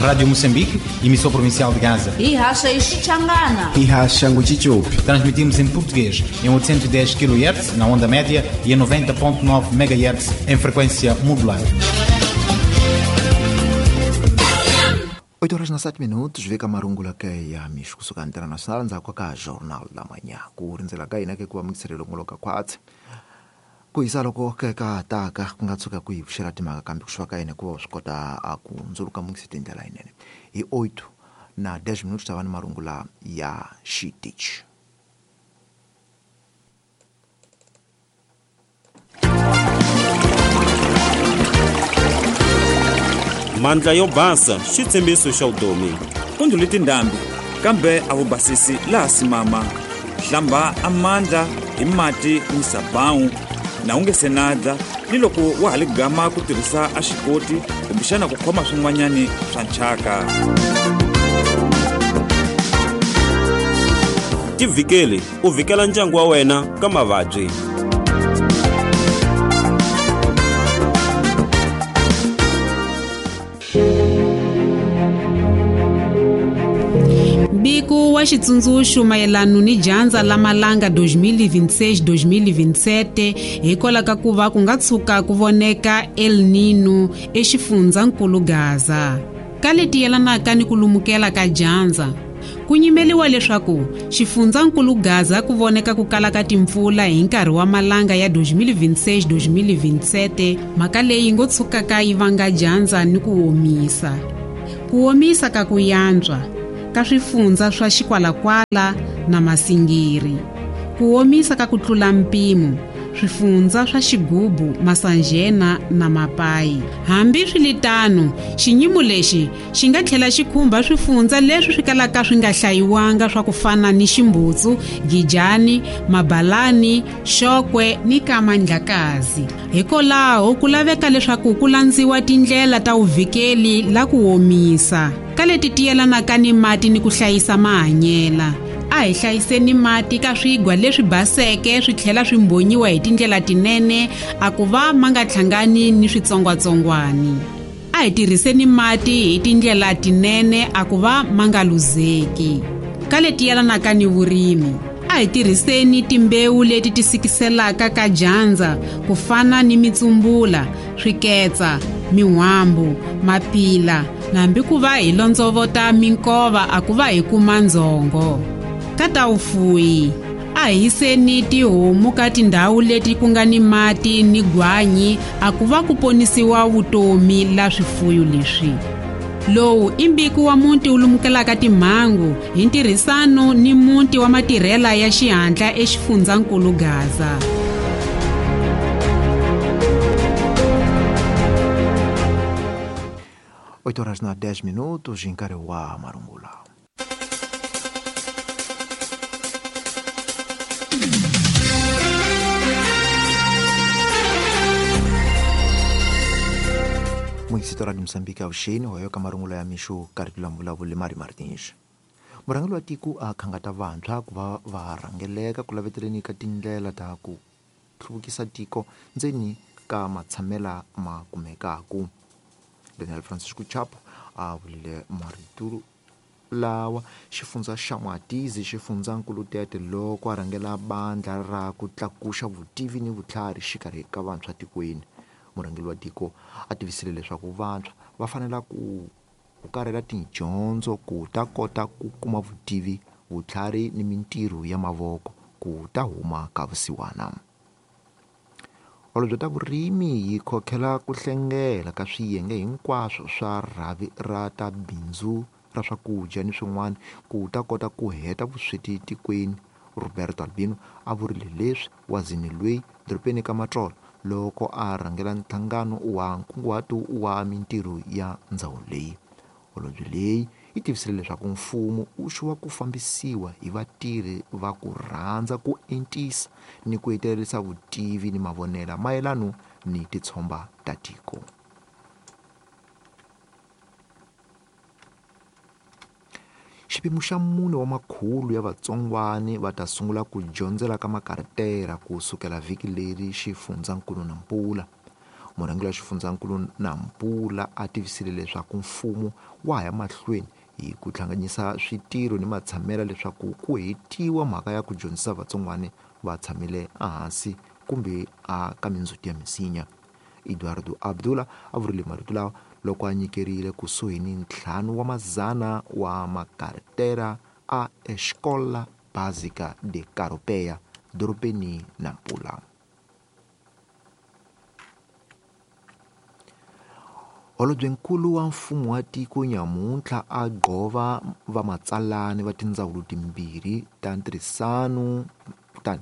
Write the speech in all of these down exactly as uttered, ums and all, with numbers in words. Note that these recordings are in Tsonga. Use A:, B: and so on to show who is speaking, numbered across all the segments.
A: Rádio Moçambique, emissora provincial de Gaza.
B: Ihaxa Ixichangana.
C: Ihaxa Nguchichupi.
A: Transmitimos em português em oitocentos e dez quilohertz na onda média e em noventa ponto nove megahertz em frequência modulada.
D: oito horas na sete minutos, veka marungula ke ya mixo kusuka internacional ndzhaku ka Jornal da Manhã. Ku rindzela ka hina ke ku va mingiselelo ngoloka khwatsi. Ku hisa loko ke ka taka ku nga tshuka ku hi pfuxela timhaka kambe ku xuva ka hina ku va swi kota a ku ndzuluka mungisi tindlela yinene. Hi oito na dez minutos ta va ni marungula ya xitichi.
E: Mandla yo basa xitshembiso xa vutomi.
F: Ku ndlule tindhambi kambe a wu basisi laha simama. Hlamba amandla hi mati ni sabawu na u nge se nadla ni loko wa ha li gama ku tirhisa a xikoti kumbexana ku khoma swin'wanyani swa nchaka.
E: Tivhikeli u vhikela ndyangu wa wena ka mavabyi.
G: Mbiko wa xitsundzuxo mayelana ni dyandza la malanga dois mil e vinte e seis dois mil e vinte e sete hikwalaho ka ku va ku nga tshuka ku voneka El Nino exifundzankulu Gaza. Ka leti yelanaka ni ku lumukela ka dyandza, ku nyimeliwa leswaku xifundzankulu Gaza ku voneka ku kala ka timpfula hi nkarhi wa malanga ya dois mil e vinte e seis dois mil e vinte e sete, mhaka leyi ngo tshukaka yi vanga dyandza ni ku omisa. Ku omisa ka ku yantswa ka swifundza swa Xikwalakwala na Masingiri. Ku omisa ka ku tlula mpimo swifundza swa Xigubu, Masanjena na Mapai. Hambi swiritano, xinyimo lexi xi nga tlhela xi khumba swifundza leswi swi kalaka swi nga hlayiwanga swa ku fana ni Ximbutsu, Gijani, Mabalani, Xokwe ni Kamandlakazi. Hikwalaho ku laveka leswaku ku landziwa tindlela ta vuvikeli la ku omisa ka leti ti yelanaka ni mati ni ku hlayisa mahanyela. A hi hlayiseni mati ka swigwa leswi baseke swi tlhela swi mbonyiwa hi tindlela tinene a ku va ma nga hlangani ni switsongwatsongwani. A hi tirhiseni mati hi tindlela tinene a ku va ma nga luzeki. Ka leti yelanaka ni vurimi, a hi tirhiseni timbewu leti ti sikiselaka ka dyandza ku fana ni mitsumbula, swiketsa, min'wambu, mapila, na hambi ku va hi londzovota minkova a ku va hi kuma ndzhongo. Ka ta vufuwi, a hi yiseni tihomu ka tindhawu leti ku nga ni mati ni gwanyi a ku va ku ponisiwa vutomi la swifuyo leswi. Lowu i mbiko wa muti wu lumukelaka timhangu hi ntirhisano ni muti wa matirhela ya xihatla exifundzankulu Gaza.
D: oito horas na dez minutos em nkarhi wa marungula. Muingisito de Moçambique avuxeni hoyo ka marungula ya mixo karhi la vulavuli Mari Martins. Murhangeri wa tiko a khangata vantshwa ku va va rhangeleka ku laveteleni ka tindlela ta ku hluvukisa tiko ndzeni ka matshamela ma kumekaku. Daniel Francisco Chapo a vulile marito lawa xifundza xa Mwatizi xifundzankulu Tete loko a rhangela bandla ra ku tlakuxa vutivi ni vutlhari xikarhi ka vantshwa tikweni. Murhangeri wa tiko a tivisile leswaku vantshwa va fanela ku hukarhela tidyondzo ku ta kota ku kuma vutivi, vutlhari ni mintirho ya mavoko ku ta huma ka vusiwana. Holobye ta vurimi yi khokhela ku hlengela ka swiyenge hinkwaswo swa rhavi ra ta bindzu ra swakudya ni swin'wana ku ta kota ku heta vusweti tikweni. Roberto Albino a vurile leswi wazini loyi dorobeni ka Matsolo loko a rhangela nhlangano wa nkunguhato wa mintirho ya ndhawu leyi. Holobye leyi yi tivisile leswaku mfumo wu xuwa ku fambisiwa hi vatirhi va ku rhandza ku entisa ni ku hetelerisa vutivi ni mavonelo mayelana ni titshomba ta tiko. Xipimo xa mune wa makhulu ya vatsongwani va ta sungula ku dyondzela ka makaratera ku sukela vhiki leri xifundzankulu Nampula. Murhangeri wa xifundzankulu Nampula a tivisile leswaku mfumo wa ha ya mahlweni hi ku hlanganyisa switirho ni matshamela leswaku ku hetiwa mhaka ya ku dyondzisa vatsongwana va tshamile ehansi kumbe a ka mindzhuti ya misinya. Eduardo Abdullah a vurile marito lawa loko a nyikerile kusuhi ni ntlhanu wa mazana wa makartera a Escola Básica de Caropea, dorobeni Nampula. Holobyenkulu wa mfumo wa tiko nyamuntlha a gqova vamatsalani va tindzawulo timbirhi ta ntirhisano, kutani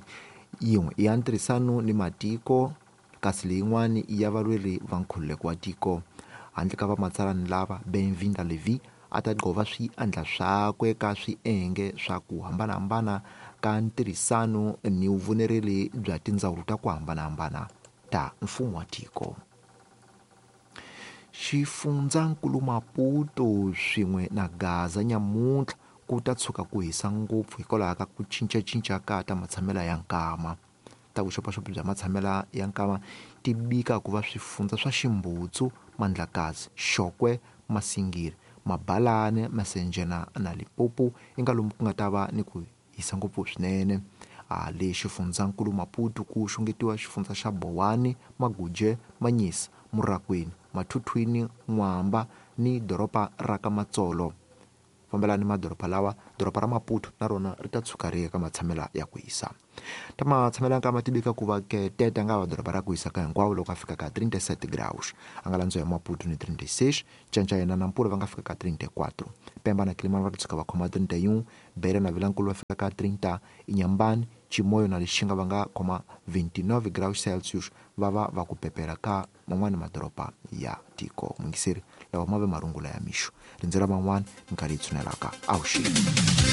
D: yin'we ya ntirhisano ni matiko kasi leyin'wana ya valweri va nkhululeko wa tiko. Handle ka vamatsalani lava, Benvinda Levi a ta gqova swiandla swakwe ka swienge swa ku hambanahambana ka ntirhisano ni vuvonereli bya tindzawulo ta ku hambanahambana ta mfumo wa tiko. Xifundzankulu Maputo swin'we na Gaza nyamuntlha ku ta tshuka ku hisa ngopfu hikwalaho ka ku cincacinca ka ta matshamela ya nkama. Ta vuxopaxopi bya matshamela ya nkama ti bika ku va swifundza swa Ximbutsu, Mandlakazi, Xokwe, Masingiri, Mabalane, Masenjena na Limpopo i nga lomu ku nga ta va ni ku hisa ngopfu swinene. A le xifundzankulu Maputo ku xungetiwa xifundza xa Bowani, Maguje, Manyisa, Murakwini, Mathuthwini, N'wamba ni doroba ra ka Matsolo. Fambelani madoroba lawa, doroba ra Maputo na rona ri ta tshuka ri ya ka matshamela ya ku hisa. Ta matshamela ya nkama ti bika ku va ke Tete nga va doroba ra ku hisa ka hinkwavo loko a fika ka trinta e sete graus. A nga landziwa hi Maputo ni trinta e seis, Canca yena na Nampula va nga fika ka trinta e quatro. Pemba na Kilimani va ta tshuka va khoma trinta e um, Beira na Vilankulu va fika ka trinta, Inhambane, Chimoio na Lixinga va nga khoma vinte e nove graus Celsius va va va ku pepela ka man'wani madoroba ya tiko. Mungiseri lawa ma ve marungula ya mixo. Rindzela man'wani minkarhi yi tshunelaka. Avuxeni.